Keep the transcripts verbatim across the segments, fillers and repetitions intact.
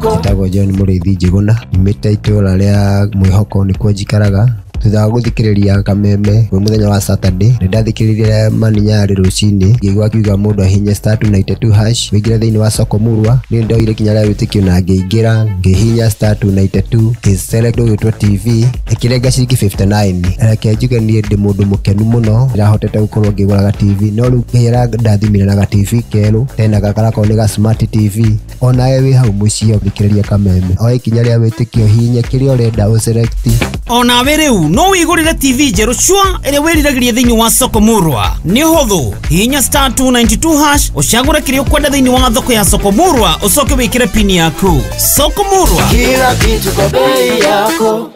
Njĩtagwo John Mũrĩithi Njĩgũna, nyumĩte itũra rĩa Mwĩhoko nĩkuo njikaraga. Thutha wa gũthikĩrĩria Kameme kwĩ mũthenya wa Saturday, nĩ ndathikĩrĩirie Mani Nyarĩ rũcinĩ, ngĩigua akiuga mũndũ ahihinye star two ninety two hash wĩingĩre thĩinĩ wa soko murwa. Niĩ ndoire ikinya rĩa wĩtĩkio na ngĩingĩra, ngĩhihinya star two ninety two, ngĩ-select ũgĩtwo T V, ĩkĩrenga ciringi fifty nine. Reke njuge niĩ ndĩ mũndũ mũkenu mũno, ndĩrahotete gũkorwo ngĩgũra ga T V, no rĩu Ngai arandathimire na ga T V kerũ, tena gaka garakorwo nĩ ga smart T V. Onawe wĩ hau mũciĩ ũthikĩrĩria Kameme, oe ikinya rĩa wĩtĩkio, hihinya kĩrĩa ũrenda ũ-select. Onawe rĩu no wĩgũrĩre T V njerũ cua ĩrĩa wĩriragĩria thĩinĩ wa soko murwa. Nĩ ũhũthũ, hihinya star two ninety two hash ũcagũre kĩrĩa ũkwenda thĩinĩ wa thoko ya soko murwa, ũcoke wĩkĩre pini yaku. Soko murwa, kila kitu kwa bei yako.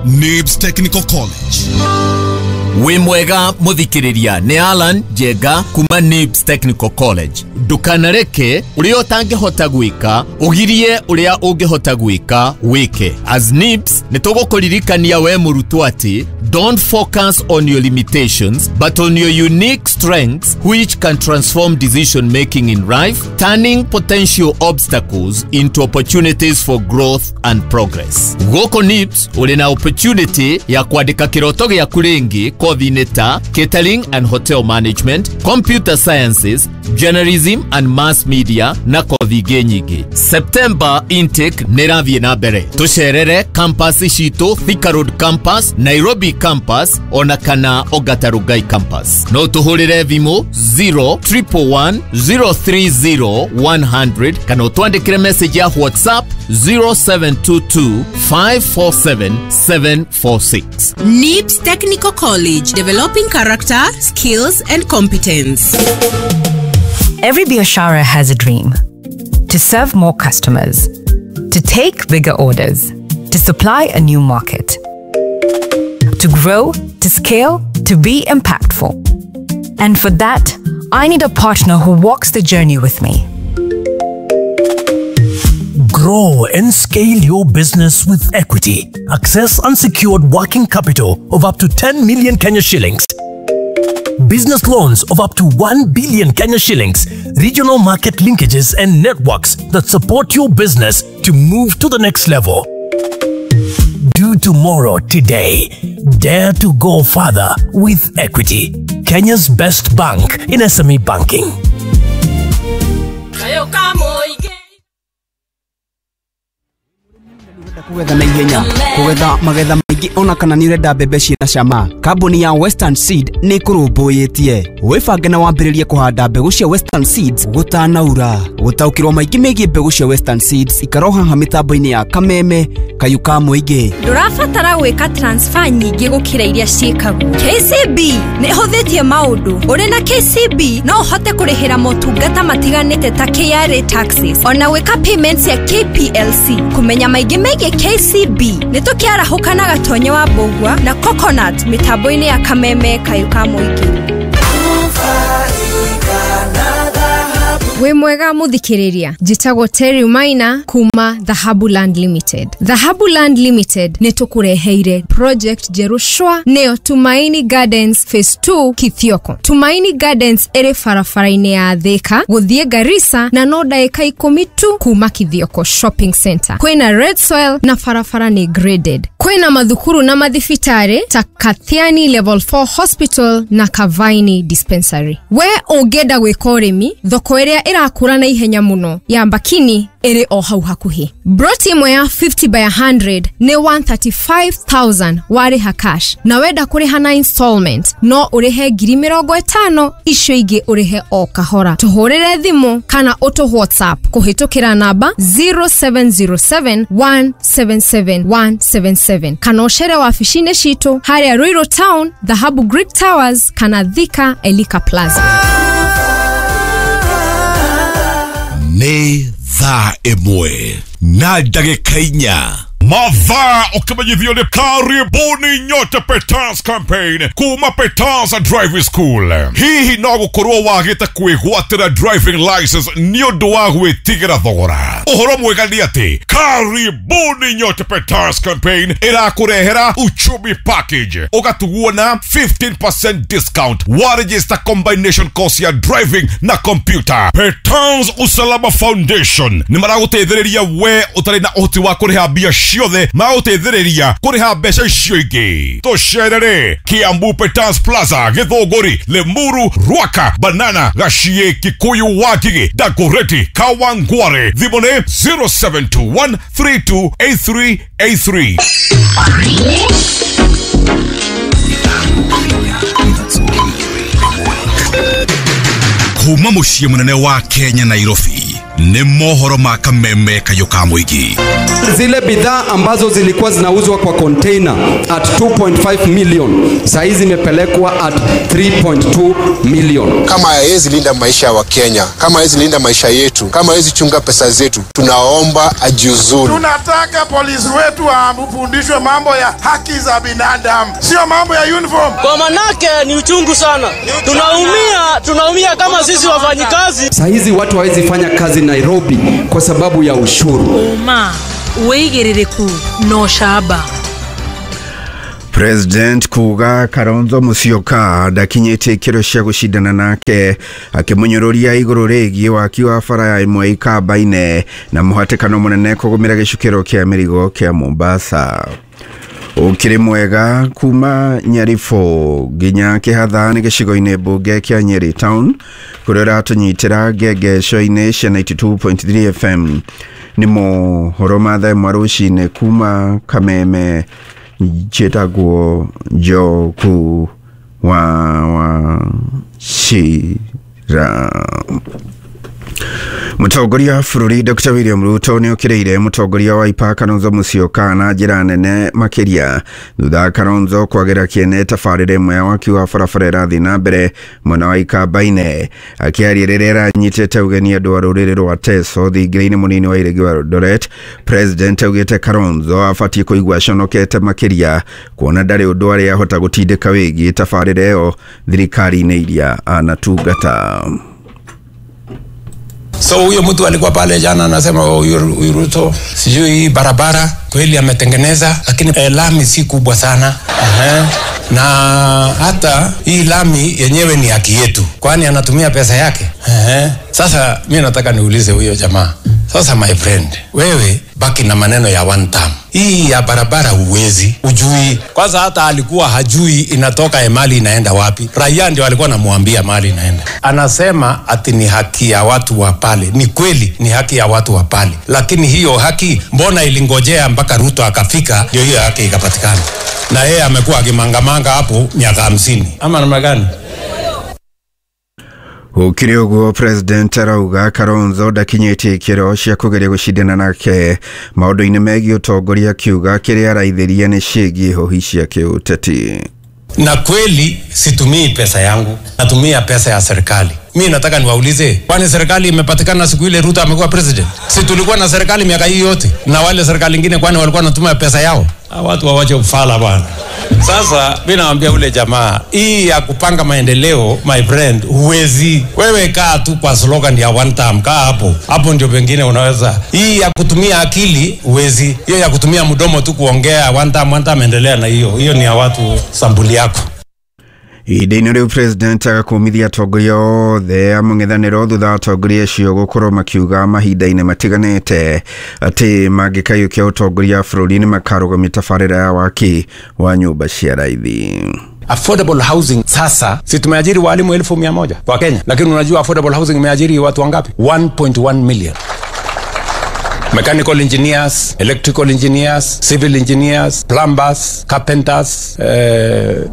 Nibs Technical College. Wĩ mwega mũthikĩrĩria, nĩ Alan Njenga kuma Nibs Technical College. Ndũkanareke ũrĩa ũtangĩhota gwĩka ũgirie ũrĩa ũngĩhota gwĩka wĩke. As Nibs nĩ tũgũkũririkania we mũrutwo atĩ don't focus on your limitations but on your unique strengths which can transform decision making in life, turning potential obstacles into opportunities for growth and progress. Gũkũ Nibs ũrĩ na opportunity ya kwandĩka kĩroto gĩaku rĩngĩ kothi-inĩ ta catering and hotel management, computer sciences, journalism and mass media na kothi ingĩ nyingĩ. September intake nĩ ĩrathiĩ na mbere. Tũcerere campus citũ, Thika Road campus, Nairobi campus ona kana Ongata Rongai campus. No tũhũrĩre thimũ zero triple one zero three zero one hundred kana ũtwandĩkĩre message ya WhatsApp zero seven two two five four seven seven four six. Nibs Technical College, developing character, skills and competence. Every biashara has a dream. To serve more customers, to take bigger orders, to supply a new market, to grow, to scale, to be impactful. And for that, I need a partner who walks the journey with me. Grow and scale your business with Equity. Access unsecured working capital of up to ten million Kenya shillings. Business loans of up to one billion Kenya shillings. Regional market linkages and networks that support your business to move to the next level. Do tomorrow today. Dare to go further with Equity. Kenya's best bank in S M E banking. Kugetha na ihenya, kugetha magetha maingĩ ona kana nĩ ũrenda mbembe ciĩna cama. Kambuni ya Western Seed nĩ ĩkũrũmbũyĩtie. Wĩbange na wambĩrĩrie kũhanda mbegũ cia Western Seeds gũtanaura. Gũtaũkĩrwo maingĩ megiĩ mbegũ cia Western Seeds ikara haha mĩtambo-inĩ ya Kameme Kayũ ka mũingĩ. Ndũrabatara gwĩka transfer nyingĩ gũkĩra iria ciĩkagwo. K C B nĩ ĩhũthĩtie maũndũ. Ũrĩ na K C B no ũhote kũrĩhĩra motungata matiganĩte ta K R A taxes ona gwĩka payments ya K P L C. Kũmenya maingĩ megiĩ K C B nĩ tũkĩarahũka na Gatonye wa Mbũgua na Coconut mĩtambo-inĩ ya Kameme Kayũ ka mũingĩ. Wĩ mwega mũthikĩrĩria, njĩtagwo Terry Maina kuma Dhahabu Land Limited. Dhahabu Land Limited nĩ tũkũreheire project njerũ cwa, nĩyo Tumaini Gardens Phase two Kithioko. Tumaini Gardens ĩrĩ barabara-inĩ ya Thika gũthiĩ Garissa na no ndagĩka ikũmi tu kuma Kithioko Shopping Center. Kwĩna red soil na barabara nĩ graded. Kwĩna mathukuru na mathibitarĩ ta Kathiani Level four Hospital na Kavaini Dispensary. We ũngĩenda gwĩka ũrĩmi, thoko ĩrĩa ĩrakũra na ihenya mũno ya Mbakini ĩrĩ o hau hakuhĩ. Broti ĩmwe ya fifty by a hundred nĩ one thirty-five thousand warĩha cash, na wenda kũrĩha na installment no ũrĩhe ngiri mĩrongo ĩtano, icio ingĩ ũrĩhe o kahora. Tũhũrĩre thimũ kana ũtũ WhatsApp kũhĩtũkĩra namba zero seven zero seven one seven seven one seven seven kana ũcere wabici-inĩ citũ harĩa Ruiru Town, Dhahabu Greek Towers kana Thika Elika Plaza. Nĩ thaa ĩmwe na ndagĩka inya. Mathaa ũkĩmenyithio nĩ karibuni nyote Petans campaign kuma Petans Driving School. Hihi no gũkorwo wagĩte kwĩgwatĩra driving license nĩ ũndũ wa gwĩtigĩra thogora? Ũhoro mwega nĩ atĩ karibuni nyote Petans campaign ĩrakũrehera uchumi package, ũgatugwo na fifteen percent discount wa register combination course ya driving na computer. Petans Usalama Foundation nĩ maragũteithĩrĩria we ũtarĩ na ũhoti wa kũrĩha mbia ciothe, magũteithĩrĩria kũrĩha mbeca icio ingĩ. Tũcerere Kiambu Petans Plaza, Githũngũri, Limuru, Ruaka, Banana, Gachie, Kikuyu, Wangigĩ, Dagoretti, Kawangware. Thimũ nĩ zero seven two one three two eight three eight three. Kuma mũciĩ mũnene wa Kenya Nairobi nĩ mohoro ma kameme kayũ ka mũingĩ. Zile bidhaa ambazo zilikuwa zinauzwa kwa container at two point five million saa hizi zimepelekwa at three point two million. Kama hawezi linda maisha wa Kenya, kama hawezi linda maisha yetu, kama hawezi chunga pesa zetu, tunaomba ajiuzuru. Tunataka polisi wetu wafundishwe mambo ya haki za binadamu, sio mambo ya uniform. Kwa manake ni uchungu sana. Tunaumia, tunaumia kama sisi wafanyikazi. Saa hizi watu hawezi fanya kazi Nairobi kwa sababu ya ushuru. Uma wigiririku no shaba. President kuga Kalonzo Musyoka ndakinyĩtie ikĩro cia gũcindana nake, akĩmũnyũrũria igũrũ rĩgiĩ waki wa bara ya ĩmwe Ikamba-inĩ na mũhatĩkano mũnene kũgũmĩra gĩcukĩro kĩa mĩrigo kĩa Mombasa. Ũkĩrĩ mwega kuma Nyarifo nginya Kĩhatha nĩ gĩcigo-inĩ mbunge kĩa Nyeri Town kũrĩa ũratũnyitĩra ngengeco-inĩ cia ninety two point three F M. Nĩ mohoro ma thaa ĩmwe rũcinĩ kuma Kameme. Njĩtagwo Njoku wa Wachira. Mũtongoria wa bũrũri Doctor William Ruto nĩ okĩrĩire mũtongoria wa Wiper Kalonzo Musyoka na njĩra nene makĩria thutha wa Kalonzo kwagĩra kĩene tabarĩra ĩmwe ya waki wa barabara ĩrathiĩ na mbere mwena wa Ikamba-inĩ. Akĩaria rĩrĩa aranyitĩte ũgeni andũ a rũrĩrĩ rwa Teso thingira-inĩ mũnini wa Iregi wa Eldoret, President augĩte Kalonzo abatiĩ kũigua aconokete makĩria kuona ndarĩ ũndũ arĩa ahota gũtindĩka wĩgiĩ tabarĩra ĩyo thirikari-inĩ iria anatungata. So huyo mtu alikuwa pale jana anasema huyu Ruto sijui barabara kweli ametengeneza, lakini eh, lami si kubwa sana. Uh-huh. Na hata hii lami yenyewe ni haki yetu, kwani anatumia pesa yake. Uh-huh. Sasa mimi nataka niulize huyo jamaa. Sasa my friend, wewe baki na maneno ya one term. Hii ya barabara huwezi, ujui. Kwanza hata alikuwa hajui inatoka mali inaenda wapi. Raia ndio alikuwa anamuambia mali inaenda. Anasema ati ni haki ya watu wa pale. Ni kweli ni haki ya watu wa pale. Lakini hiyo haki mbona ilingojea mpaka Ruto akafika ndio hiyo haki ikapatikana? Na yeye amekuwa akimangamanga hapo miaka hamsini. Ama namna gani? Gũkĩrĩ ũguo President arauga Kalonzo ndakinyĩtie ikĩro cia kũgeria gũcindana nake maũndũ-inĩ megiĩ ũtongoria, akiuga kĩrĩa araithĩria nĩ ciĩgiĩ hũhi cia kĩũteti. Na kweli situmii pesa yangu, natumia pesa ya serikali. Mimi nataka niwaulize, kwani serikali imepatikana siku ile Ruto amekuwa president? Si tulikuwa na serikali miaka hii yote? Na wale serikali nyingine kwani walikuwa wanatumia pesa yao? Watu wawache ufala bwana. Sasa mimi naambia ule jamaa, hii ya kupanga maendeleo my friend, huwezi. Wewe kaa tu kwa slogan ya one term, kaa hapo. Hapo ndio pengine unaweza. Hii ya kutumia akili huwezi. Hiyo ya kutumia mdomo tu kuongea one term, one term, endelea na hiyo. Hiyo ni ya watu sambuli yako. Ihinda-inĩ rĩu President agakũmithia atongoria othe a mũng'ethanĩro thutha wa atongoria acio gũkorwo makiuga mahinda-inĩ matiganĩte atĩ mangĩkaiyũkia ũtongoria wa bũrũri nĩ makarũgamia tabarĩra ya waki wa nyũmba cia raithi. Affordable housing sasa, si tumeajiri walimu elfu mia moja kwa Kenya, lakini unajua affordable housing imeajiri watu wangapi? one point one million. Mechanical engineers, electrical engineers, civil engineers, plumbers, carpenters, uh,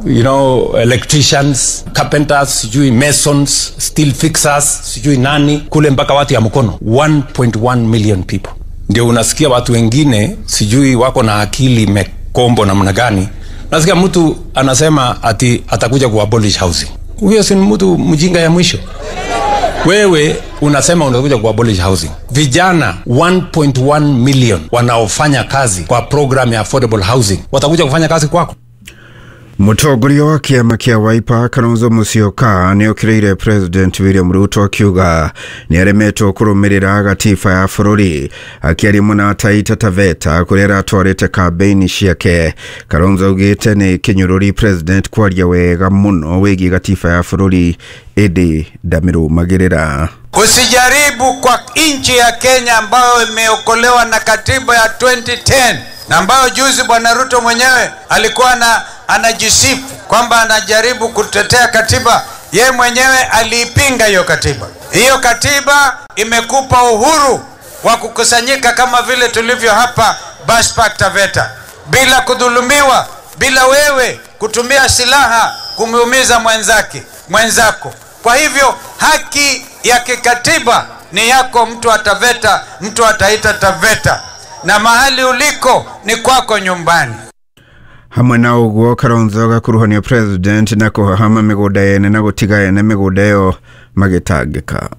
you know, electricians, carpenters, sijui masons, steel fixers, sijui nani, kule mpaka watu ya mkono. one point one million people. Ndio unasikia watu wengine sijui wako na akili mekombo namna gani. Nasikia mtu anasema ati atakuja kuabolish housing. Huyo si mtu mjinga ya mwisho. Wewe Unasema unakuja kuabolish housing. Vijana one point one million wanaofanya kazi kwa program ya affordable housing watakuja kufanya kazi kwako? Mũtongoria wa kĩama kĩa Wiper Kalonzo Musyoka nĩokĩrĩire President William Ruto akiuga nĩaremetwo kũrũmĩrĩra gatiba ya bũrũri. Akĩaria mũna Taita Taveta kũrĩa aratwarĩte kambĩini ciake, Kalonzo augĩte nĩ kĩnyũrũri President kwaria wega mũno wĩgiĩ gatiba ya bũrũri ĩndĩ ndamĩrũmagĩrĩra. Usijaribu kwa nchi ya Kenya ambayo imeokolewa na katiba ya twenty ten na ambayo juzi Bwana Ruto mwenyewe alikuwa na anajisifu kwamba anajaribu kutetea katiba, ye mwenyewe aliipinga hiyo katiba. Hiyo katiba imekupa uhuru wa kukusanyika kama vile tulivyo hapa Bus Park Taveta, bila kudhulumiwa, bila wewe kutumia silaha kumuumiza mwenzake mwenzako. Kwa hivyo haki ya kikatiba ni yako, mtu wa Taveta, mtu wa Taita Taveta, na mahali uliko ni kwako nyumbani. Hamwe na ũguo Kalonzo agakuruhanio President na kũhahama mĩgũnda yene na gũtiga ene mĩgũnda ĩyo magĩtangĩka.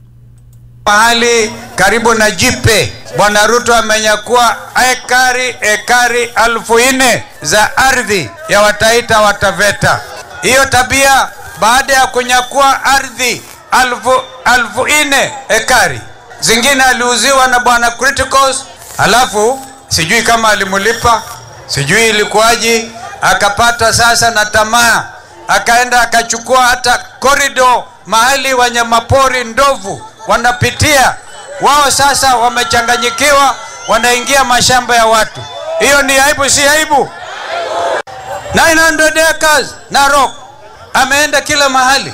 Mahali karibu na Jipe, Bwana Ruto amenyakua ekari ekari elfu nne za ardhi ya Wataita wa Taveta. Hiyo tabia, baada ya kunyakua ardhi elfu, elfu nne ekari zingine aliuziwa na Bwana Criticals, alafu sijui kama alimulipa, sijui ilikuwaje, akapata sasa na tamaa, akaenda akachukua hata corridor mahali wanyamapori ndovu wanapitia. Wao sasa wamechanganyikiwa, wanaingia mashamba ya watu. Hiyo ni aibu, si aibu? nine hundred acres Narok, ameenda kila mahali.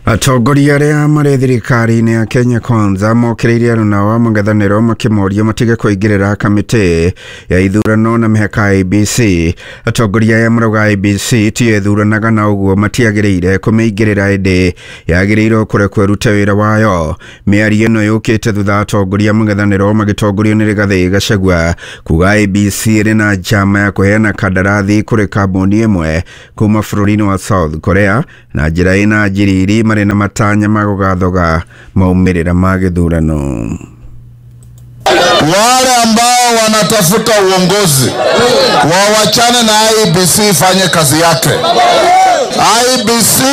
Atongoria arĩa marĩ thirikari-inĩ ya Kenya Kwanza mokĩrĩire aruna wa mũng'ethanĩro makĩmoria matige kũingĩrĩra kamĩtĩ ya ithurano na mĩhaka ya I B C. Atongoria aya marauga I B C tiyo ĩthuranaga na ũguo matiagĩrĩire kũmĩingĩrĩra ĩndĩ yagĩrĩirwo kũrekwo ĩrute wĩra wayo. Mĩario ĩno yũkĩte thutha atongoria mũng'ethanĩro magĩtongorio nĩ Rigathĩ Gachagua kuga I B C ĩrĩ na njama ya kũheana kandarathi kũrĩ kambuni ĩmwe kuma bũrũri-inĩ wa South Korea na njĩra ĩna njiriri na matanya magũgathoga maumĩrĩra ma gĩthurano. Wale ambao wanatafuta uongozi wawachane na I B C ifanye kazi yake. I B C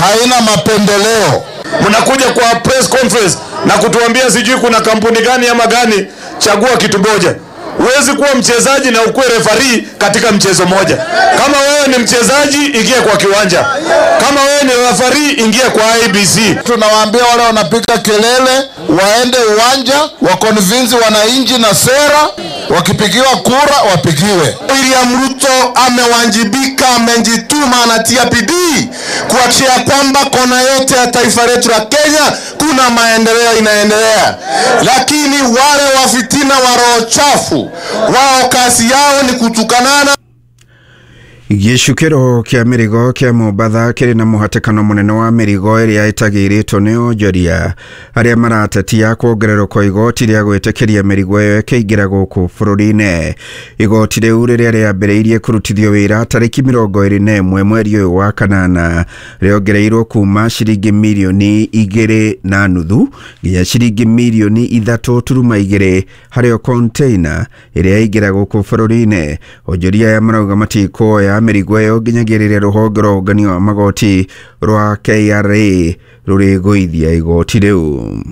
haina mapendeleo. Mnakuja kwa press conference na kutuambia sijui kuna kampuni gani ama gani, chagua kitu moja. Huwezi kuwa mchezaji na ukuwe referee katika mchezo moja. Kama wewe ni mchezaji, ingia kwa kiwanja. Kama wewe ni referee, ingia kwa I B C. Tunawaambia wale wanapiga kelele waende uwanja, wakonvinzi wananchi na sera, wakipigiwa kura wapigiwe. William Ruto amewajibika, amejituma, anatia bidii kuhakikisha kwamba kona yote ya taifa letu la Kenya kuna maendeleo inaendelea. Lakini wale wa fitina wa roho chafu, wao kazi yao ni kutukanana. Gĩcukĩro kĩa mĩrigo kĩa Mombatha kĩrĩ na mũhatĩkano mũnene wa mĩrigo ĩrĩa ĩtagĩrĩtwo nĩ onjoria arĩa maratetia kuongererwo kwa igoti rĩa gwĩtĩkĩria mĩrigo ĩyo ĩkĩingĩra gũkũ bũrũri-inĩ. Igoti rĩu rĩrĩa rĩambĩrĩirie kũrutithio wĩra tarĩki mĩrongo ĩrĩ na ĩmwe mweri ũyũ wa kanana rĩongereirwo kuma ciringi mirioni igĩrĩ na nuthu nginya ciringi mirioni ithatũ turuma igĩrĩ harĩ o container ĩrĩa ĩingĩra gũkũ bũrũri-inĩ. Onjoria aya marauga matikuoya mĩrigo ĩyo nginyagia rĩrĩa rũhonge rwa ũngania wa magoti rwa K R A rũrĩgũithia igoti rĩu.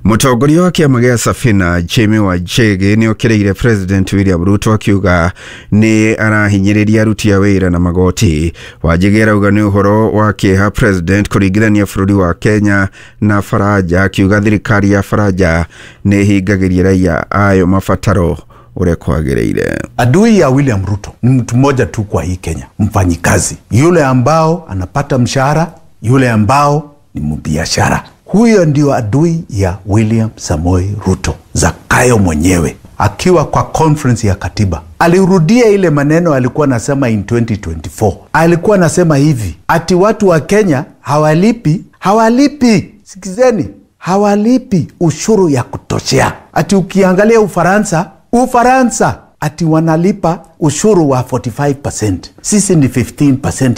Mũtongoria wa kĩama gĩa Safina Jimmy Wanjigi nĩokĩrĩire President William Ruto akiuga nĩ arahinyĩrĩria aruti a wĩra na magoti. Wanjigi arauga nĩ ũhoro wa kĩeha President kũringithania bũrũri wa Kenya na Faranja, akiuga thirikari ya Faranja nĩ ĩhingagĩria raia ayo mabataro ũrĩa kwagĩrĩire. Adui ya William Ruto ni mtu mmoja tu kwa hii Kenya, mfanyikazi yule ambao anapata mshahara, yule ambao ni mbiashara. Huyo ndio adui ya William Samoei Ruto. Zakayo mwenyewe akiwa kwa conference ya katiba alirudia ile maneno alikuwa anasema in twenty twenty-four. Alikuwa anasema hivi ati watu wa Kenya hawalipi, hawalipi, sikizeni, hawalipi ushuru ya kutoshea. Ati ukiangalia Ufaransa, Ufaransa ati wanalipa ushuru wa forty-five percent. Sisi ni fifteen percent ya